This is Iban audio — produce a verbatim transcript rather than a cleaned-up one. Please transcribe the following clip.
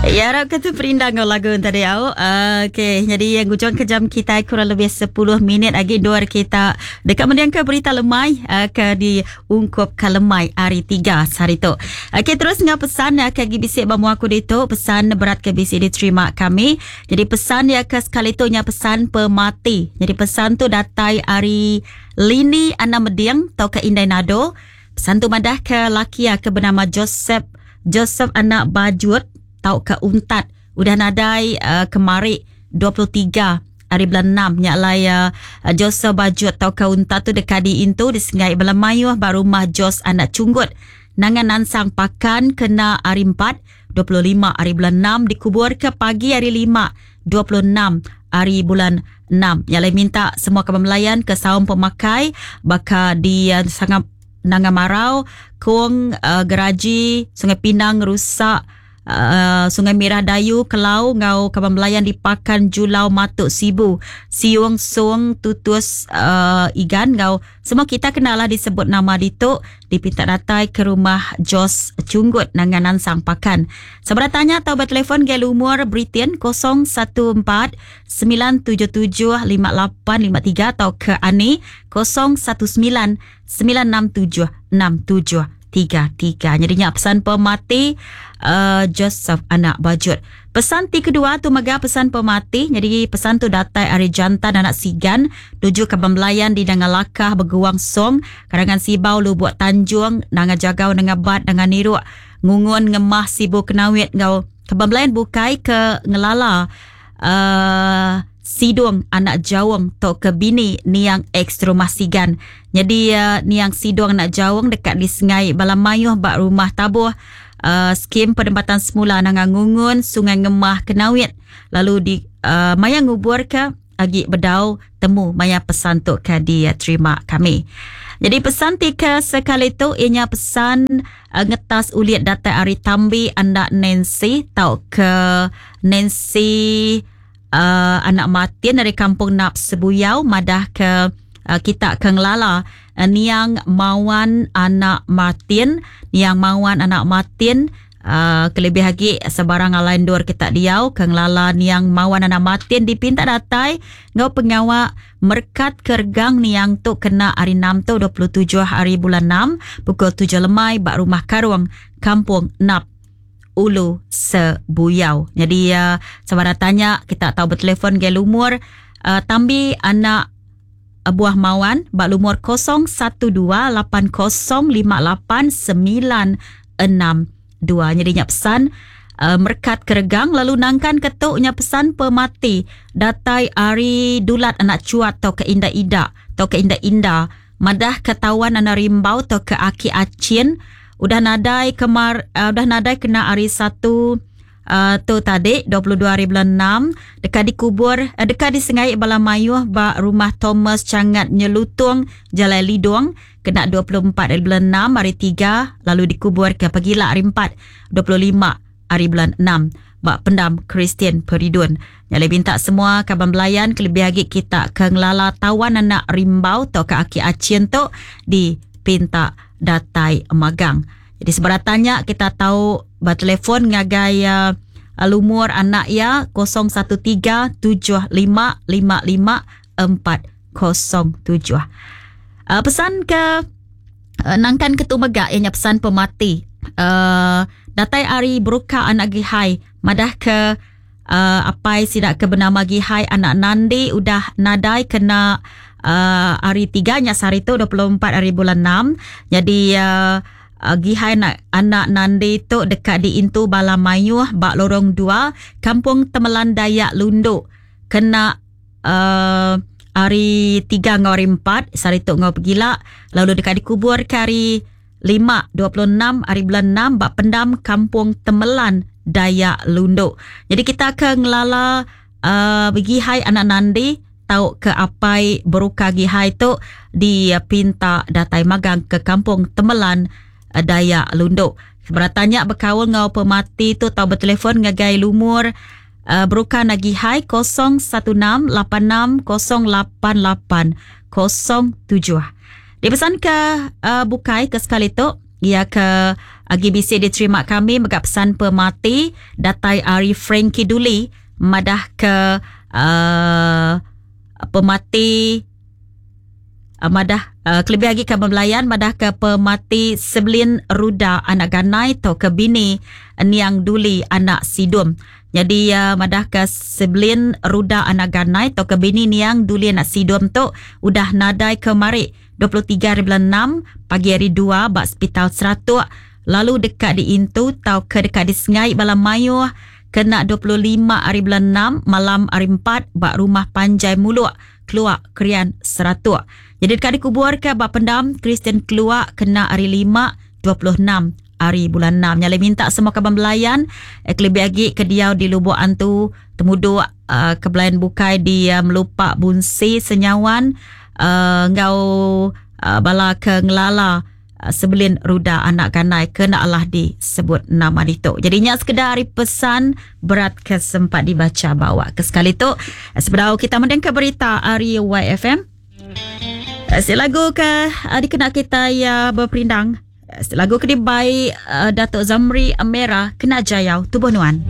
Ya, harap ke tu perindang ngau lagu tadi au. Uh, Okey, jadi yang ujung ke jam kita kurang lebih sepuluh minit lagi dua kita dekat mendiang ke berita lemai uh, ke di ungkup ke lemai hari tiga sehari tu. Okey, terus ngau pesan uh, ke bisik ba mua aku ditu, pesan berat ke bisik diterima kami. Jadi pesan ya ke sekali tu nya pesan pemati. Jadi pesan tu datai hari Lini Anak Mediang atau ke Indai Nado. Pesan tu madah ke laki ke bernama Joseph Joseph anak Bajut tau ke Untat udah nadai uh, kemari dua puluh tiga hari bulan enam nya lai uh, Joseph Bajut tau ke Untat tu dekat di intu di Sungai Belamayuh ba rumah Jos anak Cunggut nangan nansang pakan kena hari empat dua puluh lima hari bulan enam dikubur ke pagi hari lima dua puluh enam hari bulan enam. Nya lai minta semua kaban melayan ke saum pemakai baka di uh, Sangap Nangamarau, Kong, uh, Geraji, Sungai Pinang, Rusak, Uh, Sungai Merah Dayu, Kelau, ngau kaban melayan di Pakan Julau Matuk Sibu, Siung Sung Tutus uh, Igan ngau semua kita kenalah disebut nama ditu dipinta datai ke rumah Jos Cunggut nangan nansang Pakan. Sebarang tanya atau bertelefon ke lumur Britain kosong satu empat sembilan tujuh tujuh lima lapan lima tiga atau ke Ani kosong satu sembilan sembilan enam tujuh enam tujuh tiga tiga. Jadi nya pesan pemati uh, Joseph anak Bajut. Pesan ti kedua tu mega pesan pemati. Jadi pesan tu datai ari jantan anak Sigan tuju ke Bembelayan di Dangalakah Beguang Song, Karangan Sibau Lubuk Tanjung, Nanga Jagau Nanga Bat Nanga Niruk, Ngungun Ngemah Sibu Kenawit ngau Kebembelayan bukai ke Ngelala uh, Sidung anak Jawong tok ke bini niang ex rumah Sigan. Jadi uh, niang Sidung anak Jawong dekat di Sengai Balamayuh bak rumah tabuh uh, skim penempatan semula Nanga Ngungun Sungai Ngemah Kenawit. Lalu di uh, maya ngubur ke agi bedau temu maya pesan tu ke diterima kami. Jadi pesan tiga sekali tu ianya pesan uh, ngetas uliat data ari Tambi anak Nancy tau ke Nancy Uh, anak Martin dari Kampung Nap Sebuyau madah ke uh, kita ke ngelala uh, niang Mawan anak Martin, niang Mawan anak Martin uh, kelebih lagi sebarang alain dur kita diau ke ngelala niang Mawan anak Martin dipinta datai ngau pengawak merkat kergang niang tu kena hari enam tu dua puluh tujuh hari bulan enam pukul tujuh lemai bak rumah Karuang Kampung Nap Ulu Sebuyau. Jadi uh, sebarang tanya kita tahu bertelefon ke lumur uh, Tambi anak uh, buah Mawan bak lumur kosong satu dua lapan kosong lima lapan sembilan enam dua. Jadi nya pesan uh, merkat keregang lalu nangkan ketuknya pesan pemati datai ari Dulat anak Cuat atau ke Indah Ida atau ke Indah Indah madah ketahuan anak Rimbau atau ke Aki Acin udah nadai kemar uh, udah nadai kena hari satu uh, tu tadi dua puluh dua hari bulan enam dekat dikubur uh, dekat di Sengai Balamayuh ba rumah Thomas Cangat Nyelutung Jalan Lidong kena dua puluh empat hari bulan enam hari tiga lalu dikubur ke Pagila hari empat dua puluh lima hari bulan enam ba pendam Kristian Peridun. Nyale minta semua kaban belayan kelebih lagi kita ke ngelala tawan anak Rimbau atau ke Aki Acin tu di pinta datai magang. Jadi sebarang tanya kita tahu bertelefon ngagai uh, lumur anak ya kosong satu tiga tujuh lima lima lima empat kosong tujuh. Uh, pesan ke uh, nangkan ketu megak ianya pesan pemati. Uh, datai ari beruka anak Gihai madah ke uh, apai sidak ke bernama Gihai anak Nandi udah nadai kena Uh, hari tiga nya sehari tu dua puluh empat hari bulan enam. Jadi uh, uh, Gihai anak, anak Nandi tu dekat di Intu Balamayuh bak Lorong dua Kampung Temelan Dayak Lunduk kena uh, hari tiga ngau hari empat sehari tu ngau pergila lalu dekat dikubur ke hari lima dua puluh enam hari bulan enam bak pendam Kampung Temelan Dayak Lunduk. Jadi kita ke ngelala uh, Gihai anak Nandi tau ke apai beruka Gihai tu di pinta datai magang ke Kampung Temelan Dayak Lunduk. Sebarang tanya berkaul ngau pemati tu tau bertelefon ngagai lumur uh, beruka Gihai kosong satu enam lapan enam kosong lapan lapan kosong tujuh. Dipesan ke uh, bukai ke sekali tu ia ke Agi bisi diterima kami mega pesan pemati datai ari Frankie Duli madah ke uh, pemati uh, madah uh, kelebih lagi ke belayan madah ke pemati Sebelin Ruda anak Ganai atau ke bini Niang Duli anak Sidum. Jadi uh, madah ke Sebelin Ruda anak Ganai atau ke bini Niang Duli anak Sidum tu udah nadai kemari dua puluh tiga hari bulan enam pagi hari dua ba Hospital Seratuk lalu dekat di Intu tau ke dekat di Sengai bala mayuh kena dua puluh lima hari bulan enam malam hari empat ba rumah Panjai Muluk Keluak Krian Seratuk. Jadi dekat dikubur ke ba pendam Kristian Keluak kena hari lima dua puluh enam hari bulan enam. Nyale minta semua kaban belayan eh, kelebih lagi ke diau di Lubuk Antu temuduk uh, ke belayan bukai di uh, Melupak Bunsi Senyawan uh, ngau uh, bala ke ngelala Sebelin Ruda anak Ganai kena Allah disebut nama ditu. Jadinya sekedar hari pesan berat ke sempat dibaca bawa ke sekali tu. Sebelum kita mendengar berita hari Y F M. Lagu ke dikena kita ya berperindang. Lagu ke dibai Datuk Zamri Amera kena jayau tubuh nuan.